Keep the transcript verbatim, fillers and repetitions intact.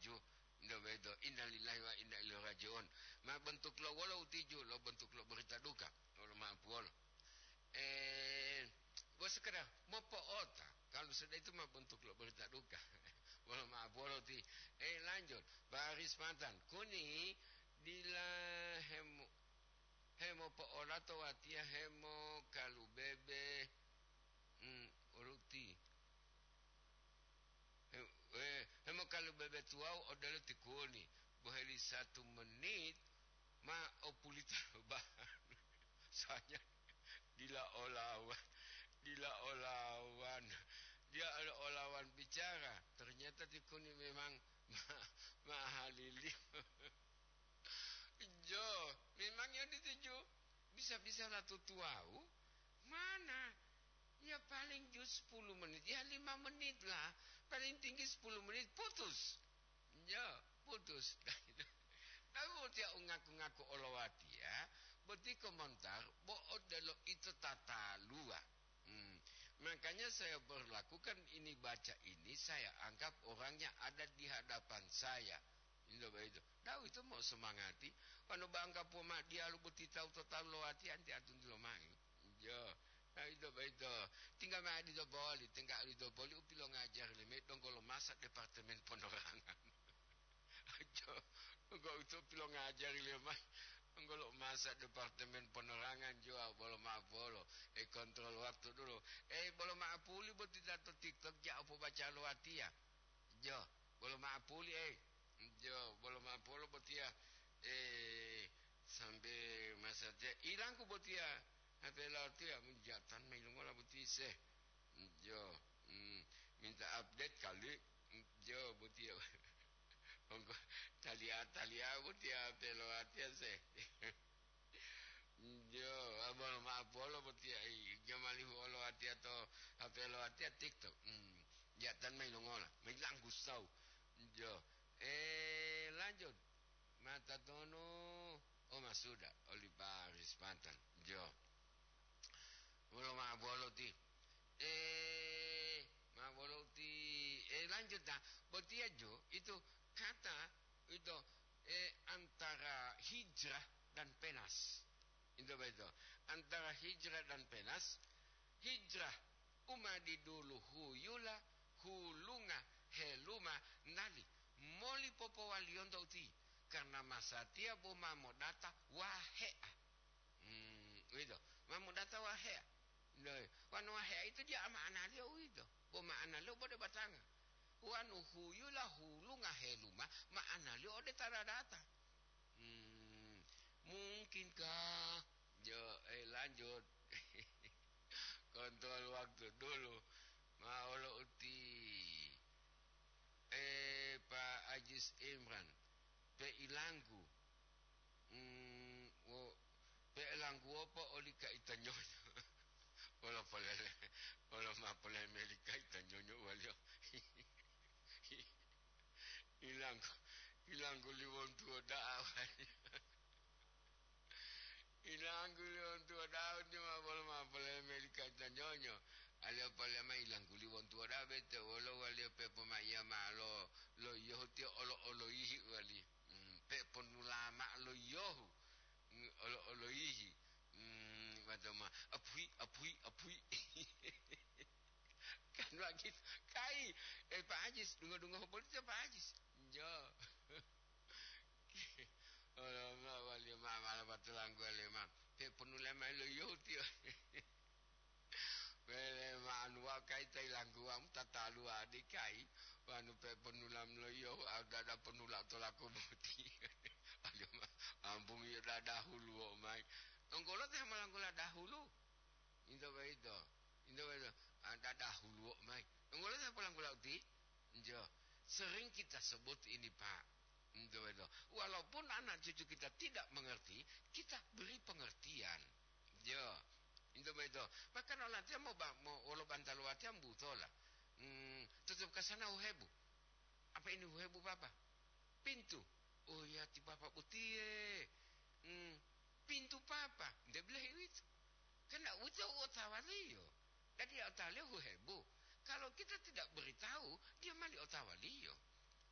Ju, nde beto, innalillahi wa inna ilaihi raji'un. Ma bentuk lo wolo utiju, lo bentuk lo berita duka, wolo ma'apuwolo. Eh, bo sekedar mopo'ota, kalau sudah itu ma bentuk lo berita duka. Wolo ma'apuwolo ti. Eh, lanjut, baris matan. Kuni dila hemu-, hemopo'olato watiya hemokalubebe, hmm, oluti. He-, eh, hemokalubebe tuwawu odelo ti kuni, boheli satu menit ma opulita lo bahan. Soalnya dila olawan, dila olawan. Dia olawan bicara, ternyata ti kuni memang ma-, mahalili. Jo, memang yang dituju bisa-bisa lah tutuwau. Mana? Ya paling ju sepuluh menit, ya lima menit lah. Paling tinggi sepuluh menit, putus. Ya, putus. Tapi botiya ungaku-ngaku olowatiya, boti komentar, bo odelo ito tataluwa. Hmm. Makanya saya berlakukan ini, baca ini, saya anggap orang yang ada di hadapan saya. Into boyito. Tawu ito mau semangati, wanu bangka poma diyalu boti tawu to talu lowatiya anti atunti lomayi. Jo. Nah, ito boyito. Tinggal ma'adi to boli, tinggal ito boli u pilongajari leme donggo lo masa Departemen Ponorangan. Jo. Donggo ito pilongajari lemayi. Donggo lo masa Departemen Ponorangan jo, bolo ma'apolo. Eh, kontrol waktu dulu. Eh, bolo ma'apuli boti ta to TikTok ja opo baca lowatiya. Jo, bolo ma'apuli, eh. Jo, bolo ma'apolo botiya, eh, sambe masatiya ilangku botiya, H P latiya, menjatan mailungola boti se. Jo, hmm, minta update kali. Jo, botiya. Ongko, talia-talia botiya H P latiya se. Jo, abolo ma'apolo botiya, i, jamalihu olo atiya to H P lo atiya TikTok. Hmm, jatan mailungola, mailanggu sau. Jo, eh, lanjut. Mata tonu, oh, masuda, oli baris matan. Jo. Bolo ma'apolo ti. Eh, ma'apolo ti. Eh, lanjut, nah. Botiya jo, itu kata, itu, eh, antara hijrah dan penas. Itu betul. Antara hijrah dan penas, hijrah u ma didulu huyula, hulunga, heluma, nali moli popowaliyonto uti, karna masatiya bo ma modata wahe'a. Hmm, uwito, ma modata wahe'a. Loe, wanu wahe'a itu dia ma'analiyo uwito, bo ma'analiyo bode batanga. Wanu huyula, hulunga, heluma, ma'analiyo ode ta dadata. Hmm, mungkinkah? Jo, eh, lanjut. Kontrol waktu dulu. Ma olo uti. Eh, Pak Ajis Imran. Pe ilanggu. Hmm, wo, pe ilanggu wopo oli ka ita nyonyo. Wolo polele, wolo ma polele meli ka ita nyonyo waliyo. Ilanggu, ilanggu liwontuwo da'a waliyo. Ilanggu liwontuwo da'a, uti ma bolo ma polele meli ka ita nyonyo. Aliyo polele ma ilanggu liwontuwo da'a bete wolo waliyo pepomaiya ma'o lo, lo yiyohu tiyo olo-oloyihi wali. Hmm, peponula ma'o lo yiyohu. Hmm, olo-oloyihi. Hmm, matoma, apuhi, apuhi, apuhi. Kan begitu. Kai, eh, Pak Ajis, dungo-dungo polisi Pak Ajis. Jo. Olo ma waliyo ma mala batulanggu waliyo ma. Peponula ma'o lo yiyohu tiyo. Wele ma'anu wa kai ta ilangguwamu tataluwa dikai, wanu pe ponulam loiyo, au dada ponula tolaku boti. Aduh, ma-, ampung iyo dada huluwo mai. Onggolo te malanggola dahulu. Into boyito. Into boyito. Ah, dada huluwo mai. Onggolo te polanggola uti? Njo. Sering kita sebut ini, Pak. Into boyito. Walaupun anak cucu kita tidak mengerti, kita beri pengertian. Jo, into boyito. Bahkan olatiya mo ba-, mo wolo bantalu watiya mbutola. Hmm, tutup kasana huhebu. Apa ini huhebu, Papa? Pintu. Oh ya, ti Papa botiye. Hmm, pintu Papa. Nde bilahi uwito. Karena uwito u otawaliyo. Jadi otawaliyo huhebu. Kalau kita tidak beritahu, dia mali otawaliyo.